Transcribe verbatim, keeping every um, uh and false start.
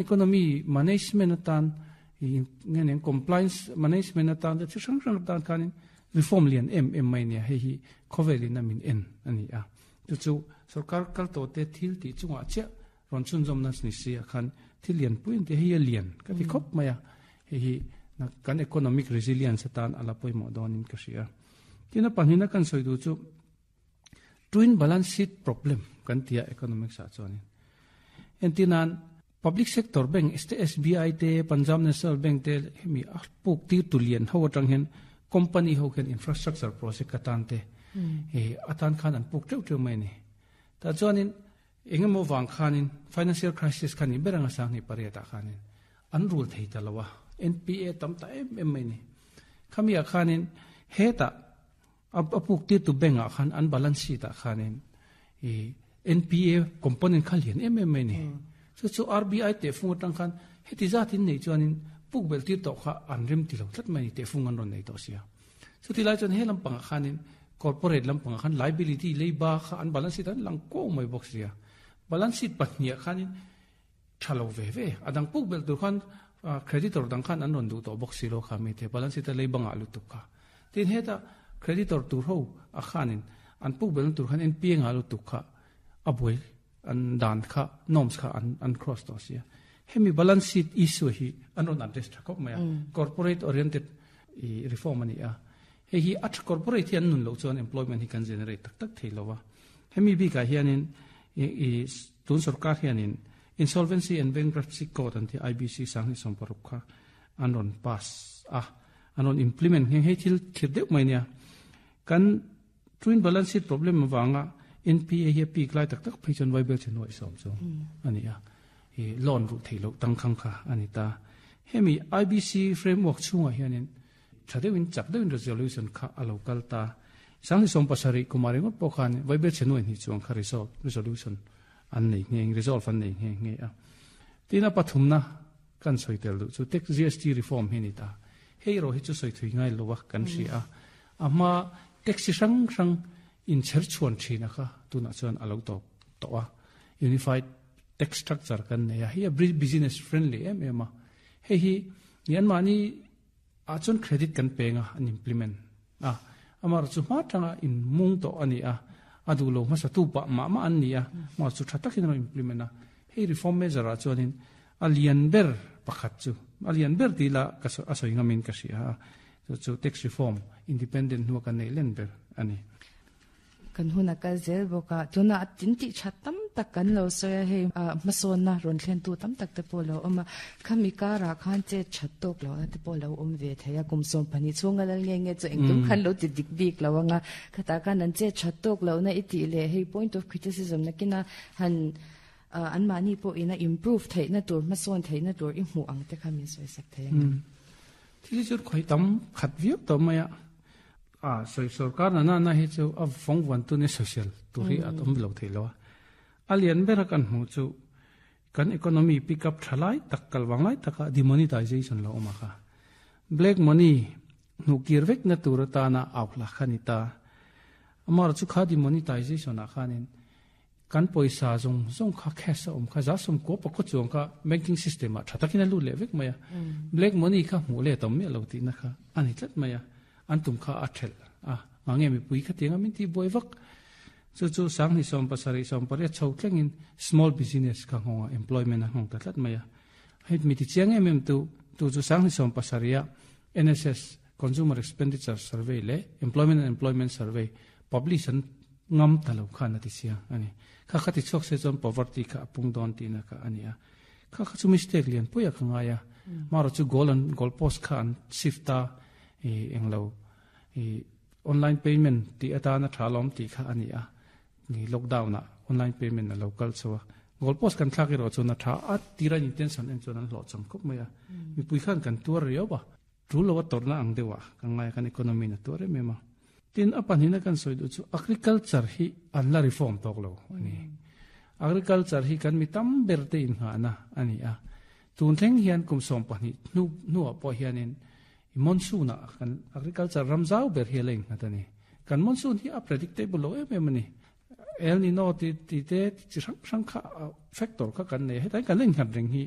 Economy management atan ngen compliance management atan te chi hrang hrang atan khanin reform lian em em mai nia. Hei hi khawvelin a min en ani a, chu chu sarkar kal to te thil ti chunga che ron chun zom na ni si a khan thil lian puin te hi a lian ka ti khop maya. Hei hi na kan economic resilience atan ala poimo donin ka ria. Tina panhina kan soidu chu twin balance sheet problem kan tia economics a chuanin entinan public sector bank S B I te Punjab National Bank te hemi a puk ti tulian ho atang hen company ho khen infrastructure project atan te e atan khan an puk teu teu mai ni. Ta chuanin engemaw wang khanin financial crisis khani beranga sang ni pariata khanin an rule thei ta lawa N P A tam ta em em mai ni. Khamia khanin heta apuk ti tu bank a khan an balance sheet a khanin e N P A component khal hian em em mai ni. So chu R B I te fung atang khan heti zatin nei chuanin puk bel ti to kha an rim ti lo tlat mai ni te fung an ron nei to sia. So ti lai chuan he lampang khanin corporate lampang khan liability leiba kha an balance sheet an lang ko mai box sia. Balance sheet pahnia khanin thalo ve ve adang puk bel tur khan creditor dang khan an ron du to box silo kha mi te balance sheet leiba nga lu tu kha. Tin heta creditor tur ho a khanin an puk bel tur khan N P A nga lu tu kha aboi an dan kha norms kha an an cross to sia. Hemi balance sheet issue hi an ron address thakop maya corporate oriented i reform ani a. He hi at corporate hian nun lo chuan employment hi kan generate tak tak theilowa. Hemi bi ka hianin i tun sarkar hianin Insolvency and Bankruptcy Code an ti I B C sang hi som paruk kha an ron pass a an ron implement he hei thil thir deuh mai nia. Kan twin balance sheet problem wanga N P A hi peak lai tak tak phei chuan vaibel chen noi som chu ani a e loan ru theilo tang khang kha ani ta. Hemi I B C framework chunga hianin thadewin chak dewin resolution kha a local ta sang hi som pasari kumari ngot pawh khan vaibel chen noi ni chuang kha resolve resolution an nei nge resolve an nei nge nge a. Tina pathumna kan soitel du chu tax G S T reform hi ni ta. Hei ro hi chu soi thui ngai lo wa kan si a. Ama tax sang sang in cher chuan thina kha tuna chuan alo to to a unified tax structure kan ne a. Hi a business friendly em em a. Hei hi nian mani a chon credit kan penga an implement a. Amar chu ma tanga in mung to ani a. Adu lo ma sa tu pa ma ma an ni a. Ma chu thatakin ro implement a. Hei reform measure a chuanin alian ber pakhat chu alian ber ti la ka so asoi ngamin ka si a. Chu chu tax reform independent nuwa kan nei len ber ani. Kan huna ka zel boka tuna tin ti thatam tak kan lo so ya he mason na ron thlen tu tam tak te po lo oma khami ka ra khan che thattok lo na te po lo om ve theya kum som phani chunga lal nge nge chu engtum khan lo ti dik bik lo anga khata kan an che thattok lo na iti le hei point of criticism na kina han an mani po ina improve thei na tur mason thei na tur i mu ang te khami soi sak thei thi chu khoi tam khat viau to maya a soi sarkar na na na hi chu a fong wan tu ne social tu hi atom lo thei lo alian bera kan mu chu kan economy pick up thalai tak kalwang lai taka demonetization lo oma kha black money nu kirvek na tur ta na aukla khanita amar chu kha demonetization a khanin kan poisa zong zong kha cash om kha za som ko pa ko chuang kha banking system a thatakina lu le vek maya black money kha mu le tom me lo ti na kha ani tlat maya an tum kha a thel a ngange mi pui kha tenga min ti boi vak chu chu sang ni som pasari som pare chho thlengin small business kha honga employment hong ta tlat maya hei mi ti chiang em em tu tu chu sang ni som pasaria N S S Consumer Expenditure Survey le Employment and Employment Survey publish an ngam talo kha na ti sia ani kha kha ti chok se chon poverty kha pung don ti na kha ani a kha kha chu mistake lian puya kha nga ya maro chu goal an goal post kha an shift ta e englo e online payment ti ata na thalom ti kha ani a ni lockdown na online payment na local so goal post kan thak ro chu na tha a tira intention en chuan an lo chang khop maya mi pui khan kan tur rio ba tu lo tor na ang dewa kan ngai kan economy na tur me ma tin apan hina kan soi du chu agriculture hi an la reform tok lo ani agriculture hi kan mi tam ber te in ha na ani a tun thleng hian kum som pahnih nu nu a po hianin monsoon a kan agriculture ramzau ber hi leng na tani kan monsoon hi a predictable lo em em ani El Nino ti ti te chi sang sang kha factor kha kan nei hetai kan leng khat reng hi